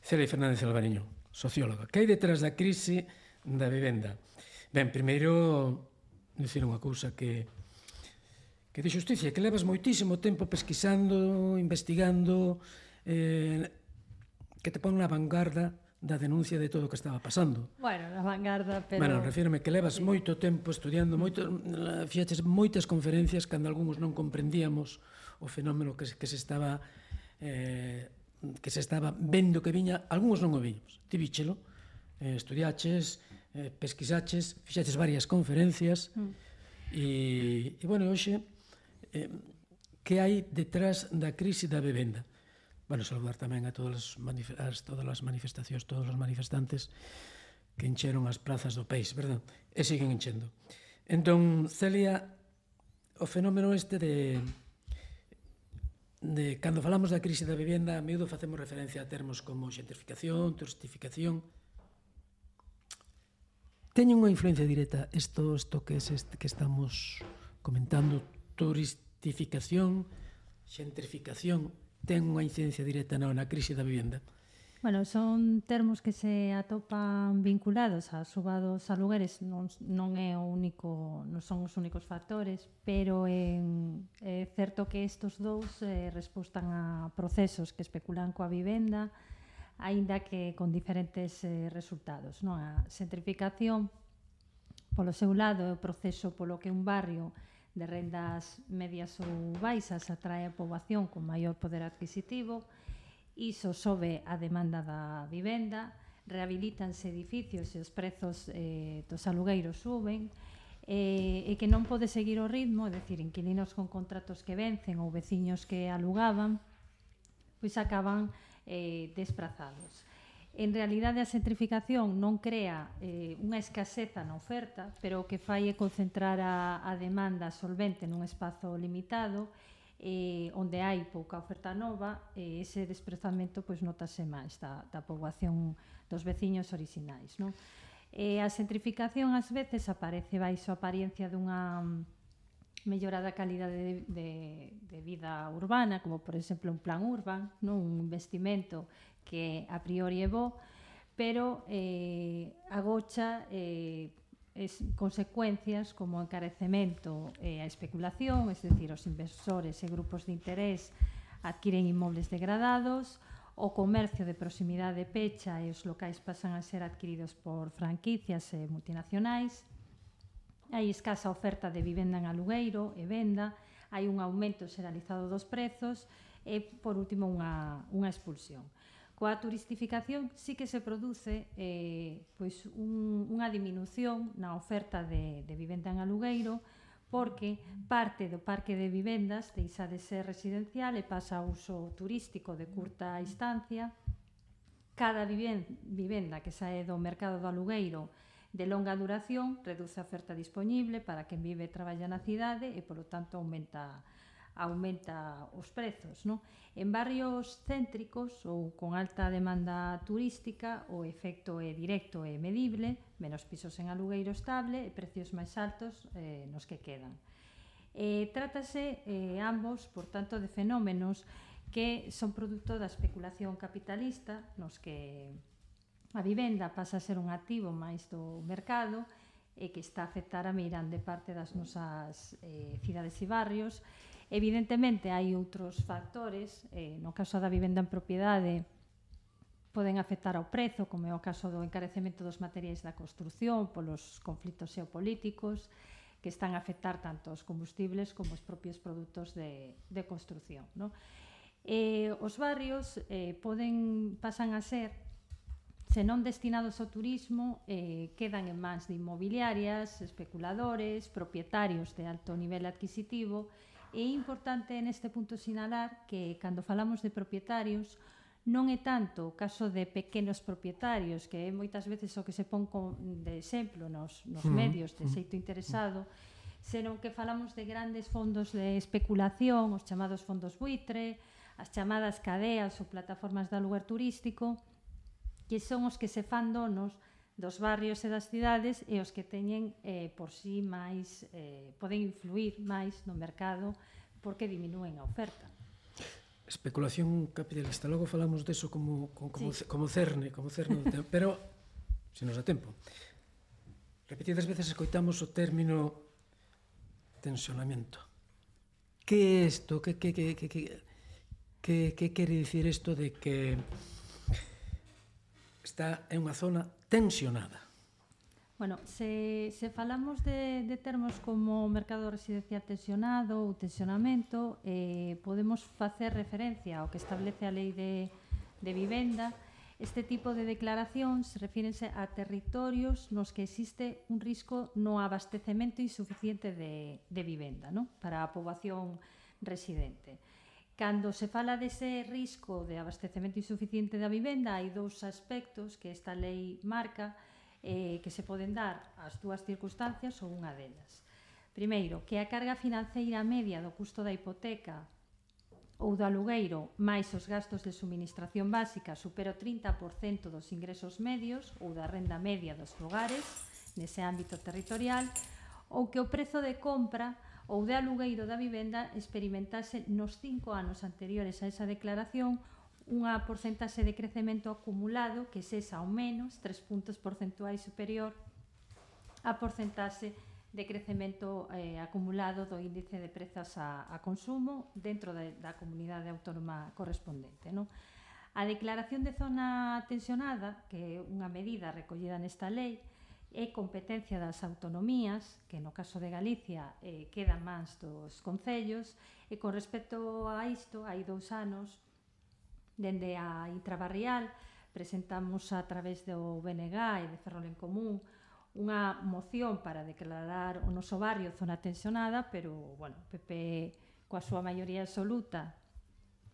Celia Fernández Alvariño, socióloga. Que hai detrás da crise da vivenda? Ben, primeiro, dicir unha cousa que di xusticia, que levas moitísimo tempo pesquisando, investigando, que te pon na vanguarda da denuncia de todo o que estaba pasando. Bueno, na vanguarda, pero... Bueno, refírome que levas moito tempo estudiando, fixaches moitas conferencias cando algúns non comprendíamos o fenómeno que se estaba vendo que viña, algúns non o viños. Ti víchelo, estudiaches, pesquisaches, fixaches varias conferencias e, bueno, hoxe, que hai detrás da crise da vivenda? Bueno, saludar tamén a todas as manifestacións, todos os manifestantes que encheron as plazas do país, verdad? E siguen enchendo. Entón, Celia, o fenómeno este de cando falamos da crise da vivenda, a miúdo facemos referencia a termos como xentrificación, turistificación. Teñen unha influencia directa isto que estamos comentando, turistificación, xentrificación, ten unha incidencia directa na crise da vivenda? Bueno, son termos que se atopan vinculados á suba dos alugueres, non son os únicos factores, pero é certo que estes dous respostan a procesos que especulan coa vivenda, aínda que con diferentes resultados. A xentrificación, polo seu lado, é o proceso polo que un barrio de rendas medias ou baixas atrae a poboación con maior poder adquisitivo, iso sobe a demanda da vivenda, rehabilitanse edificios e os prezos dos alugueiros suben, e que non pode seguir o ritmo, é dicir, inquilinos con contratos que vencen ou veciños que alugaban, pois acaban desprazados. En realidade, a xentrificación non crea unha escaseza na oferta, pero o que fai é concentrar a demanda solvente nun espazo limitado, onde hai pouca oferta nova, ese desprazamento notase máis da poboación dos veciños orixinais. A xentrificación ás veces aparece baixo a apariencia dunha mellorada calidade de vida urbana, como por exemplo un plan urban, un investimento que a priori é bo, pero agocha consecuencias como o encarecemento e a especulación, é dicir, os inversores e grupos de interés adquiren inmobles degradados, o comercio de proximidade pecha e os locais pasan a ser adquiridos por franquicias e multinacionais, hai escasa oferta de vivenda en alugueiro e venda, hai un aumento xeralizado dos prezos e, por último, unha expulsión. Coa turistificación sí que se produce unha diminución na oferta de vivenda en alugueiro, porque parte do parque de vivendas deixa de ser residencial e pasa a uso turístico de curta instancia. Cada vivenda que sae do mercado do alugueiro de longa duración reduce a oferta disponible para quen vive e traballa na cidade e, polo tanto, aumenta os prezos. En barrios céntricos ou con alta demanda turística, o efecto é directo e medible, menos pisos en alugueiro estable e precios máis altos nos que quedan. Trátase ambos, por tanto, de fenómenos que son produto da especulación capitalista, nos que a vivenda pasa a ser un activo máis do mercado e que está a afectar a meirande parte das nosas cidades e barrios. Evidentemente, hai outros factores, no caso da vivenda en propiedade, poden afectar ao prezo, como é o caso do encarecemento dos materiais da construción, polos conflitos xeopolíticos, que están a afectar tanto os combustibles como os propios produtos de construción. Os barrios pasan a ser, se non destinados ao turismo, quedan en mans de inmobiliarias, especuladores, propietarios de alto nivel adquisitivo. É importante neste punto sinalar que, cando falamos de propietarios, non é tanto o caso de pequenos propietarios, que é moitas veces o que se pon de exemplo nos medios de xeito interesado, senón que falamos de grandes fondos de especulación, os chamados fondos buitre, as chamadas cadeas ou plataformas de aluguer turístico, que son os que se fan donos dos barrios e das cidades e os que teñen por si poden influir máis no mercado porque diminúen a oferta. especulación capitalista. Logo falamos deso como cerne do tempo, pero se nos dá tempo. Repetidas veces escoitamos o término tensionamento. Que é isto? Que quere dicir isto de que está en unha zona tensionada? Bueno, se falamos de termos como mercado residencial tensionado ou tensionamento, podemos facer referencia ao que establece a Lei de Vivenda. Este tipo de declaracións refírense a territorios nos que existe un risco no abastecemento insuficiente de vivenda, ¿no?, para a poboación residente. Cando se fala dese risco de abastecemento insuficiente da vivenda, hai dous aspectos que esta lei marca que se poden dar as dúas circunstancias ou unha delas. Primeiro, que a carga financeira media do custo da hipoteca ou do alugueiro máis os gastos de suministración básica supera o 30% dos ingresos medios ou da renda media dos fogares nese ámbito territorial, ou que o prezo de compra ou de alugueiro da vivenda experimentase nos 5 anos anteriores a esa declaración unha porcentaxe de crecemento acumulado que sexa ao menos 3 puntos porcentuais superior á porcentaxe de crecemento acumulado do índice de prezos a consumo dentro da comunidade autónoma correspondente, ¿no? A declaración de zona tensionada, que é unha medida recollida nesta lei, é competencia das autonomías, que no caso de Galicia quedan mans dos concellos, e con respecto a isto, hai 2 anos, dende a Intrabarrial, presentamos a través do BNG e de Ferrol en Común unha moción para declarar o noso barrio zona tensionada, pero, bueno, o PP, coa súa maioría absoluta,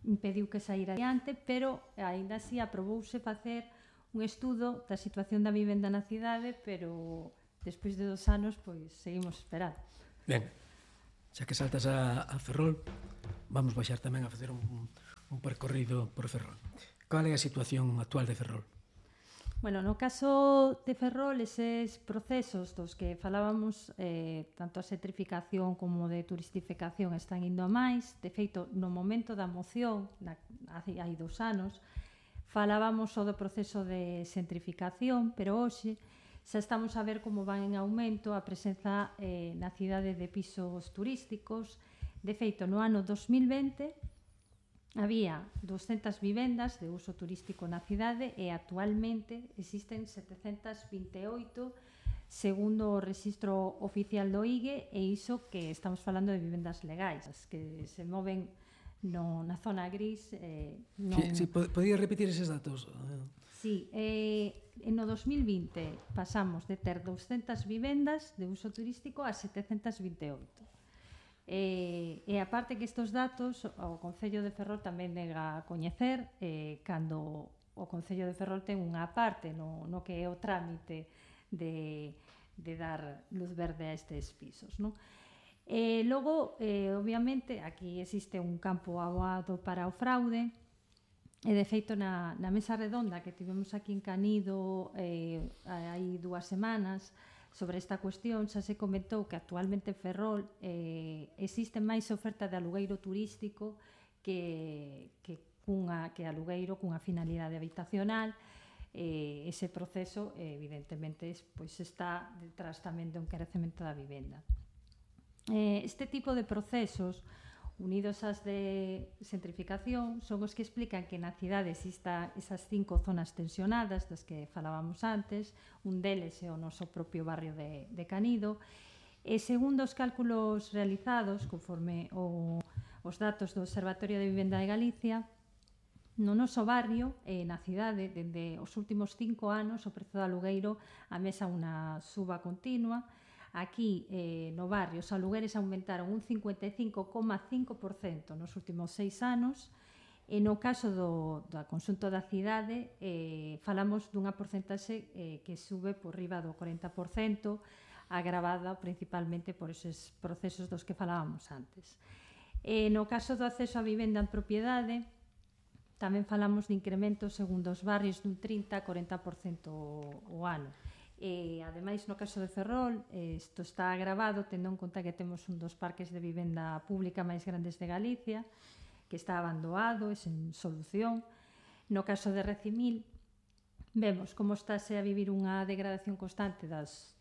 impediu que saíra adiante, pero, aínda así, aprobouse facer un estudo da situación da vivenda na cidade, pero, despois de 2 anos, pois, seguimos esperando. Ben, xa que saltas a Ferrol, vamos baixar tamén a facer un percorrido por Ferrol. Cal é a situación actual de Ferrol? Bueno, no caso de Ferrol, eses procesos dos que falábamos, tanto a xentrificación como de turistificación están indo a máis. De feito, no momento da moción, hai 2 anos, falábamos só do proceso de xentrificación, pero hoxe xa estamos a ver como van en aumento a presenza na cidade de pisos turísticos. De feito, no ano 2020 había 200 vivendas de uso turístico na cidade e actualmente existen 728 segundo o registro oficial do IGE, e iso que estamos falando de vivendas legais, as que se moven na zona gris. Sí, podía repetir eses datos? Sí, no 2020 pasamos de ter 200 vivendas de uso turístico a 728. E aparte que estes datos o Concello de Ferrol tamén nega a coñecer, cando o Concello de Ferrol ten unha parte no que é o trámite de dar luz verde a estes pisos, non? Logo, obviamente, aquí existe un campo aboado para o fraude, e de feito na mesa redonda que tivemos aquí en Canido hai 2 semanas sobre esta cuestión, xa se comentou que actualmente en Ferrol existe máis oferta de alugueiro turístico que alugueiro cunha finalidade habitacional. Ese proceso, evidentemente, pois está detrás tamén do encarecemento da vivenda. Este tipo de procesos, unidos ás de xentrificación, son os que explican que na cidade exista esas 5 zonas tensionadas das que falábamos antes. Un deles é o noso propio barrio de Canido, e segundo os cálculos realizados conforme os datos do Observatorio de Vivenda de Galicia, no noso barrio, na cidade, dende os últimos 5 anos o prezo do alugueiro amesa unha suba continua. Aquí, no barrio, os alugueres aumentaron un 55,5% nos últimos 6 anos, e no caso do conxunto da cidade falamos dunha porcentaxe que sube por riba do 40%, agravada principalmente por eses procesos dos que falábamos antes. No caso do acceso á vivenda en propiedade, tamén falamos de incrementos segundo os barrios dun 30-40% o ano. Ademais, no caso de Ferrol, isto está agravado tendo en conta que temos un dos parques de vivenda pública máis grandes de Galicia, que está abandonado e sen solución. No caso de Recimil, vemos como estáse a vivir unha degradación constante das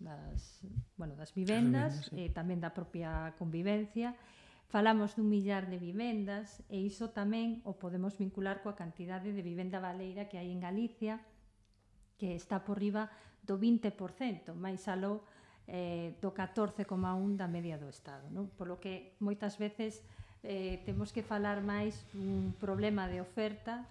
vivendas e tamén da propia convivencia. Falamos dun millar de vivendas e iso tamén o podemos vincular coa cantidade de vivenda baleira que hai en Galicia, que está por riba do 20%, máis aló do 14,1% da media do Estado, non? Por lo que moitas veces temos que falar máis dun problema de oferta,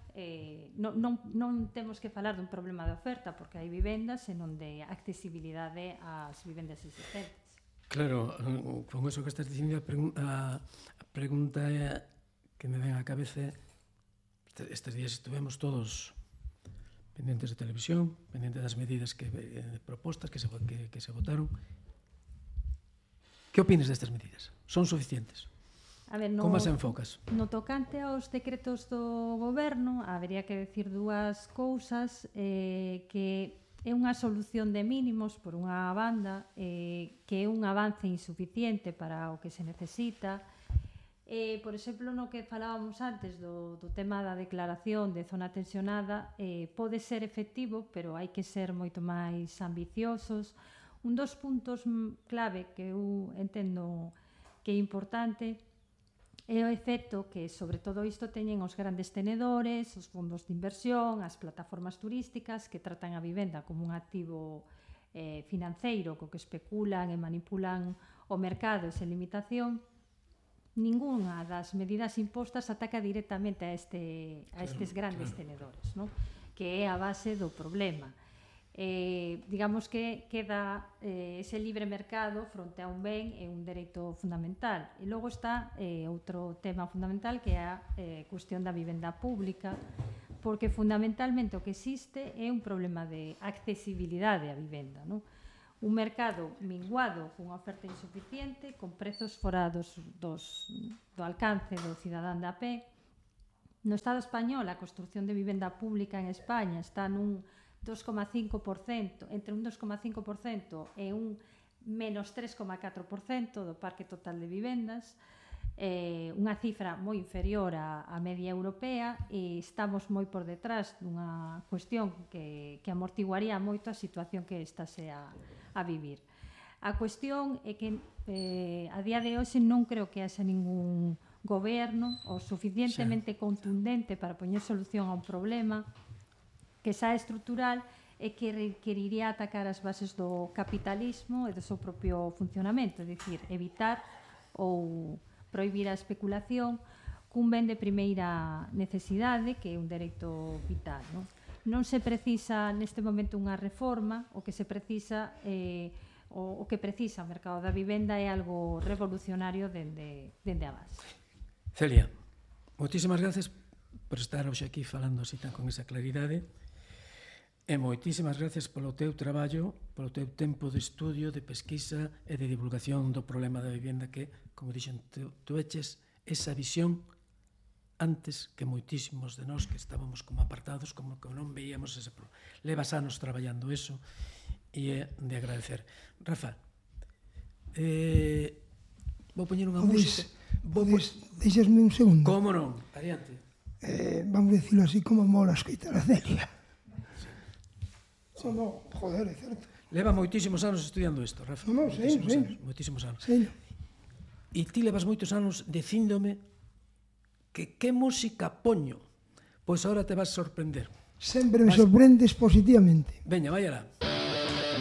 non temos que falar dun problema de oferta porque hai vivendas e non de accesibilidade ás vivendas existentes. Claro, con eso que estás dicindo, a pregunta que me ven á cabeza, estes días estuvemos todos pendentes de televisión, pendentes das medidas propostas que se votaron. Que opinas destas medidas? Son suficientes? A ver, como as enfocas? No tocante aos decretos do goberno, habería que decir dúas cousas, que é unha solución de mínimos por unha banda, que é un avance insuficiente para o que se necesita. Por exemplo, no que falábamos antes do tema da declaración de zona tensionada, pode ser efectivo, pero hai que ser moito máis ambiciosos. Un dos puntos clave que eu entendo que é importante é o efecto que, sobre todo isto, teñen os grandes tenedores, os fondos de inversión, as plataformas turísticas que tratan a vivenda como un activo financeiro co que especulan e manipulan o mercado e sen limitación. Ningunha das medidas impostas ataca directamente a estes grandes tenedores, ¿no? Que é a base do problema. Digamos que queda ese libre mercado fronte a un ben e un dereito fundamental. E logo está outro tema fundamental que é a cuestión da vivenda pública, porque fundamentalmente o que existe é un problema de accesibilidade á vivenda, ¿no? Un mercado minguado cunha oferta insuficiente, con prezos fora do alcance do cidadán de a pé. No Estado español, a construción de vivenda pública en España está nun 2,5%, entre un 2,5% e un menos 3,4% do parque total de vivendas, unha cifra moi inferior á media europea, e estamos moi por detrás dunha cuestión que amortiguaría moito a situación que estase a vivir. A cuestión é que a día de hoxe non creo que haxa ningún goberno o suficientemente contundente para poñer solución a un problema que xa é estrutural e que requeriría atacar as bases do capitalismo e do seu propio funcionamento, é dicir, evitar ou prohibir a especulación cun ben de primeira necesidade, que é un dereito vital, non? Non se precisa neste momento unha reforma, o que se precisa o que precisa o mercado da vivenda é algo revolucionario dende a base. Celia, moitísimas gracias por estar hoxe aquí falando así tan con esa claridade. E moitísimas gracias polo teu traballo, polo teu tempo de estudio, de pesquisa e de divulgación do problema da vivenda que, como dixen, tu eches esa visión antes que moitísimos de nós que estábamos como apartados, como que non veíamos ese problema. Levas anos traballando eso e é de agradecer. Rafa, vou poñer unha música. Deixasme un segundo. Como non? Adiante. Vamos decirlo así, como mola escoitar a Celia. No, joder, é certo. Leva moitísimos anos estudiando isto, Rafa. No, sei. Moitísimos anos. Sei. E ti levas moitos anos dicíndome que música poño. Pois agora te vas sorprender. Sempre me sorprendes positivamente. Veña, vai alá.